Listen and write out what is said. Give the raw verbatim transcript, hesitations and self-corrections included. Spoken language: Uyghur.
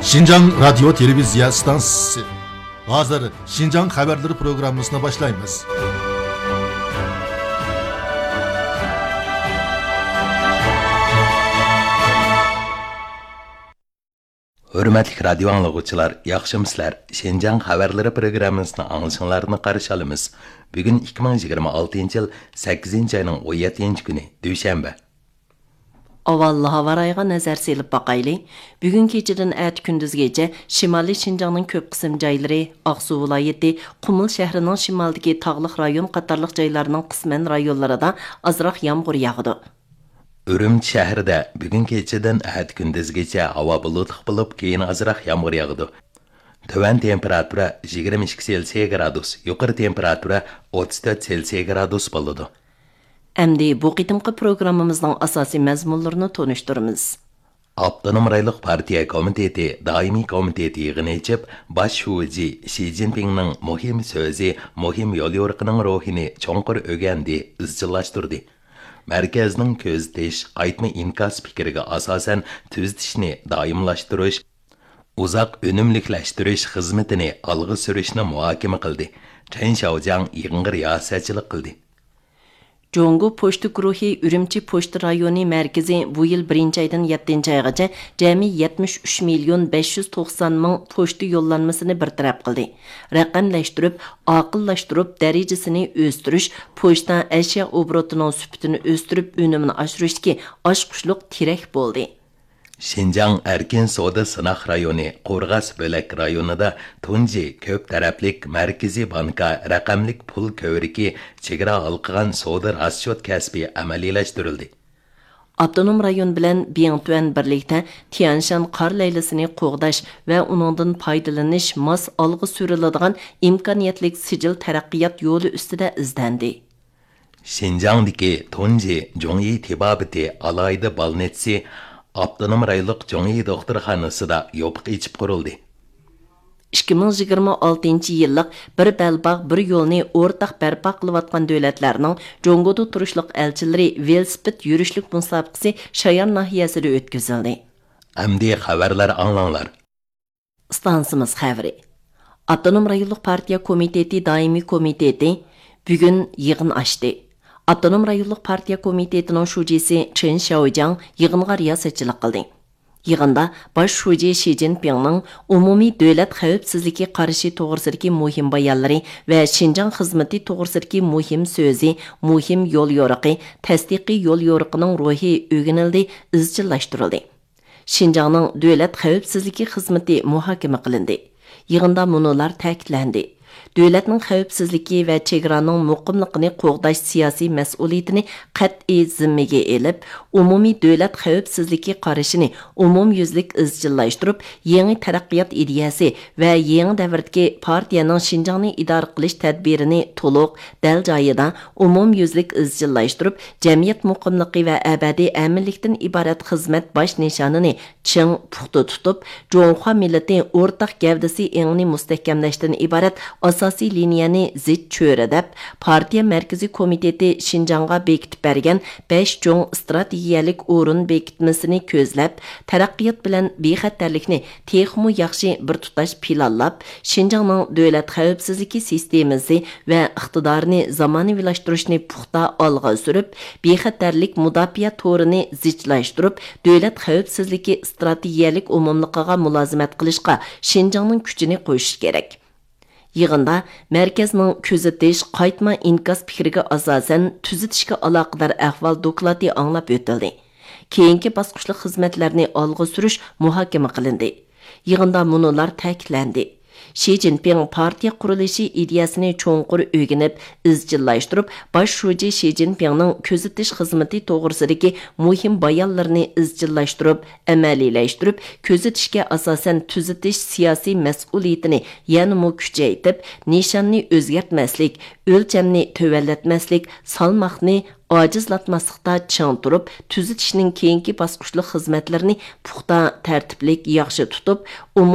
شىنجاڭ رادىيو تېلېۋىزىيە ئىستانسىسى. ھازىر شىنجاڭ خەۋەرلىرى پروگراممىسىنى باشلايمىز. ھۆرمەتلىك رادىيو ئاڭلىغۇچىلار، ياخشىمۇسىلەر؟ شىنجاڭ خەۋەرلىرى پروگراممىسىنى ئاڭلىشىڭلارنى قارشى ئالىمىز. بۈگۈن ئىككى مىڭ يىگىرمە ئالتىنچى يىل سەككىزىنچى ئاينىڭ ئون يەتتىنچى كۈنى، دۈشەنبە. ئاۋۋال ھاۋا رايىغا نەزەر سېلىپ باقايلى. بۈگۈن كېچىدىن ئەتە كۈندۈزگىچە شىمالىي شىنجاڭنىڭ كۆپ قىسىم جايلىرى، ئاقسۇ ۋىلايىتى، قۇمۇل شەھىرىنىڭ شىمالىدىكى تاغلىق رايون قاتارلىق جايلارنىڭ قىسمەن رايونلىرىدا ئازراق يامغۇر ياغىدۇ. ئۈرۈمچى شەھىرىدە بۈگۈن كېچىدىن ئەتە كۈندۈزگىچە ھاۋا بۇلۇتلۇق بولۇپ، كېيىن ئازراق يامغۇر ياغىدۇ. تۆۋەن تېمپېراتۇرا يىگىرمە ئىككى سېلسىيە گرادۇس، يۇقىرى تېمپېراتۇرا ئوتتۇز تۆت سېلسىيە گرادۇس بولىدۇ. ئەمدى بۇ قېتىمقى پروگراممىمىزنىڭ ئاساسىي مەزمۇنلىرىنى تونۇشتۇرىمىز. ئاپتونوم رايونلۇق پارتىيە كومىتېتى دائىمىي كومىتېتى يىغىنى ئېچىپ، باش شۇجى شى جىنپىڭنىڭ مۇھىم سۆزى، مۇھىم يوليورۇقىنىڭ روھىنى چوڭقۇر ئۆگەندى، ئىزچىللاشتۇردى. مەركەزنىڭ كۆزىتىش، قايتما ئىنكاس پىكرىگە ئاساسەن تۈزىتىشنى دائىملاشتۇرۇش، ئۇزاق ئۈنۈملۈكلەشتۈرۈش خىزمىتىنى ئالغا سۈرۈشنى مۇھاكىمە قىلدى. چېن شياۋجياڭ يىغىنغا رىياسەتچىلىك قىلدى. جۇڭگو پوچتا گۇرۇھى ئۈرۈمچى پوچتا رايونى مەركىزى بۇ يىل بىرىنچى ئايدىن يەتتىنچى ئايغىچە جەمئىي يەتمىش ئۈچ مىليون بەش يۈز توقسان مىڭ پوچتا يوللانمىسىنى بىر تەرەپ قىلدى. رەقەملەشتۈرۈپ، ئاقىللاشتۇرۇپ، دەرىجىسىنى ئۆستۈرۈش، پوچتا ئەشيا ئوبوروتىنىڭ سۈپىتىنى ئۆستۈرۈپ، ئۈنۈمىنى ئاشۇرۇشتىكى ئاچقۇچلۇق تىرەك بولدى. شىنجاڭ ئەركىن سودا سىناق رايونى قورغاس بۆلەك رايونىدا تۇنجى كۆپ تەرەپلىك مەركىزىي بانكا رەقەملىك پۇل كۆۋرۈكى چېگرا ھالقىغان سودا راسچوت كەسپى ئەمەلىيلەشتۈرۈلدى. ئاپتونوم رايون بىلەن بىڭتۈەن بىرلىكتە تيەنشان قار لەيلىسىنى قوغداش ۋە ئۇنىڭدىن پايدىلىنىش ماس ئالغا سۈرۈلىدىغان ئىمكانىيەتلىك سىجىل تەرەققىيات يولى ئۈستىدە ئىزدەندى. شىنجاڭدىكى تۇنجى جۇڭيى تېبابىتى ئالاھىدە بالنىتسى ئاپتونوم رايونلۇق جۇڭيى دوختۇرخانىسىدا يوپۇق ئېچىپ قۇرۇلدى. ئىككى مىڭ يىگىرمە ئالتىنچى يىللىق بىر بەلباغ، بىر يولنى ئورتاق بەرپا قىلىۋاتقان دۆلەتلەرنىڭ جۇڭگودا تۇرۇشلۇق ئەلچىلىرى ۋېلىسىپىت يۈرۈشلۈك مۇسابىقىسى شايان ناھىيەسىدە ئۆتكۈزۈلدى. ئەمدى خەۋەرلەر ئاڭلاڭلار. ئىستانسىمىز خەۋىرى. ئاپتونوم رايونلۇق پارتىيە كومىتېتى دائىمىي كومىتېتى بۈگۈن يىغىن ئاچتى. ئاپتونوم رايونلۇق پارتىيە كومىتېتىنىڭ شۇجىسى چېن شياۋجياڭ يىغىنغا رىياسەتچىلىك قىلدى. يىغىندا باش شۇجى شى جىنپىڭنىڭ ئومۇمىي دۆلەت خەۋپسىزلىكى قارىشى توغرىسىدىكى مۇھىم بايانلىرى ۋە شىنجاڭ خىزمىتى توغرىسىدىكى مۇھىم سۆزى، مۇھىم يوليورۇقى، تەستىقىي يوليورۇقىنىڭ روھى ئۆگىنىلدى، ئىزچىللاشتۇرۇلدى. شىنجاڭنىڭ دۆلەت خەۋپسىزلىكى خىزمىتى مۇھاكىمە قىلىندى. يىغىندا مۇنۇلار تەكىتلەندى: دۆلەتنىڭ خەۋپسىزلىكى ۋە چېگرانىڭ مۇقىملىقىنى قوغداش سىياسىي مەسئۇلىيىتىنى قەتئىي زىممىگە ئېلىپ، ئومۇمىي دۆلەت خەۋپسىزلىكى قارىشىنى ئومۇميۈزلۈك ئىزچىللاشتۇرۇپ، يېڭى تەرەققىيات ئىدىيەسى ۋە يېڭى دەۋردىكى پارتىيەنىڭ شىنجاڭنى ئىدارە قىلىش تەدبىرىنى تولۇق، دەل جايىدا، ئومۇميۈزلۈك ئىزچىللاشتۇرۇپ، جەمئىيەت مۇقىملىقى ۋە ئەبەدىي ئەمىنلىكتىن ئىبارەت خىزمەت باش نىشانىنى چىڭ، پۇختا تۇتۇپ، جۇڭخۇا مىللىتى ئورتاق گەۋدىسى ئېڭىنى مۇستەھكەملەشتىن ئىبارەت ئاساسىي لىنىيەنى زىچ چۆرىدەپ، پارتىيە مەركىزىي كومىتېتى شىنجاڭغا بېكىتىپ بەرگەن بەش چوڭ ئىستراتېگىيەلىك ئورۇن بېكىتمىسىنى كۆزلەپ، تەرەققىيات بىلەن بىخەتەرلىكنى تېخىمۇ ياخشى بىر تۇتاش پىلانلاپ، شىنجاڭنىڭ دۆلەت خەۋپسىزلىكى سىستېمىسى ۋە ئىقتىدارىنى زامانىۋىلاشتۇرۇشنى پۇختا ئالغا سۈرۈپ، بىخەتەرلىك مۇداپىئە تورىنى زىچلاشتۇرۇپ، دۆلەت خەۋپسىزلىكى ئىستراتېگىيەلىك ئومۇملۇقىغا مۇلازىمەت قىلىشقا شىنجاڭنىڭ كۈچىنى قوشۇش كېرەك. يىغىندا مەركەزنىڭ كۆزىتىش، قايتما ئىنكاس پىكرىگە ئاساسەن تۈزىتىشكە ئالاقىدار ئەھۋال دوكلاتى ئاڭلاپ ئۆتۈلدى. كېيىنكى باسقۇچلۇق خىزمەتلەرنى ئالغا سۈرۈش مۇھاكىمە قىلىندى. يىغىندا مۇنۇلار تەكىتلەندى: شى جىنپىڭ پارتىيە قۇرۇلۇشى ئىدىيەسىنى چوڭقۇر ئۆگىنىپ، ئىزچىللاشتۇرۇپ، باش شۇجى شى جىنپىڭنىڭ كۆزىتىش خىزمىتى توغرىسىدىكى مۇھىم بايانلىرىنى ئىزچىللاشتۇرۇپ، ئەمەلىيلەشتۈرۈپ، كۆزىتىشكە ئاساسەن تۈزىتىش سىياسىي مەسئۇلىيىتىنى يەنىمۇ كۈچەيتىپ، نىشاننى ئۆزگەرتمەسلىك، ئۆلچەمنى تۆۋەنلەتمەسلىك، سالماقنى ئاجىزلاتماسلىقتا چىڭ تۇرۇپ، تۈزىتىشنىڭ كېيىنكى باسقۇچلۇق خىزمەتلىرىنى پۇختا، تەرتىپلىك، ياخشى تۇتۇپ، ئومۇميۈزلۈك